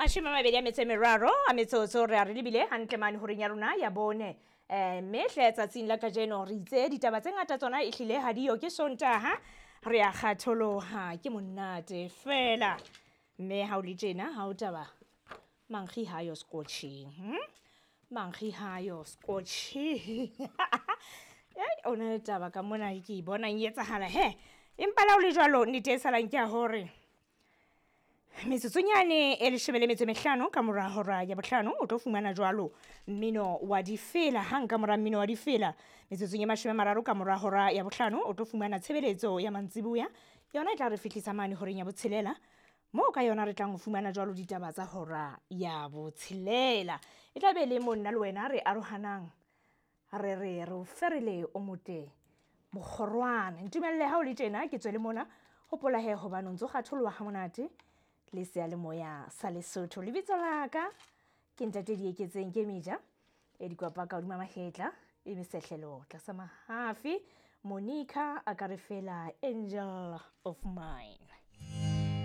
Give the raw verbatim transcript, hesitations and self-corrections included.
Mashome a mabedi a metso e meraro a metsotso re a re lebile hantle mane horeng ya rona ya bone. um Mme hle tsatsing la kajeno re itse ditaba tse ngata tsona e hlile ha diyo, ke Sontaha, re a kgatholoha, ke monate fela. Mme ha o le tjena ha o taba mankgi hayo scotching, hm? Mankgi hayo scotching. Ei, o na le taba ka mona ke e bonang e etsahala he. Empa le ha o le jwalo, nnete e salang ke ya hore metsotsonyane e leshome le metso e mehlano ka mora hora ya bohlano o tlo fumana jwalo mmino wa difela. Hang ka mora mmino wa difela, metsotsong e mashome a mararo ka mora hora ya bohlano o tlo fumana tshebeletso ya mantsiboya. Yona e tla re fihlisa mane horeng ya botshelela, moo ka yona re tlang ho fumana jwalo ditaba tsa hora ya botshelela. E tla be le mo nna le wena re arohanang, re re re o ferele o motle mokgorwana. Ntumelle ha o le tjena ke tswele mona, hopola he hobane o ntso kgatholoha ha monate le seyalemoya sa Lesotho. Lebitso la ka ke Ntate Dieketseng, ke meja e dikwapa ka hodima mahetla e mesehlelo tlasa mahafi. Monica a ka re fela angel of mine.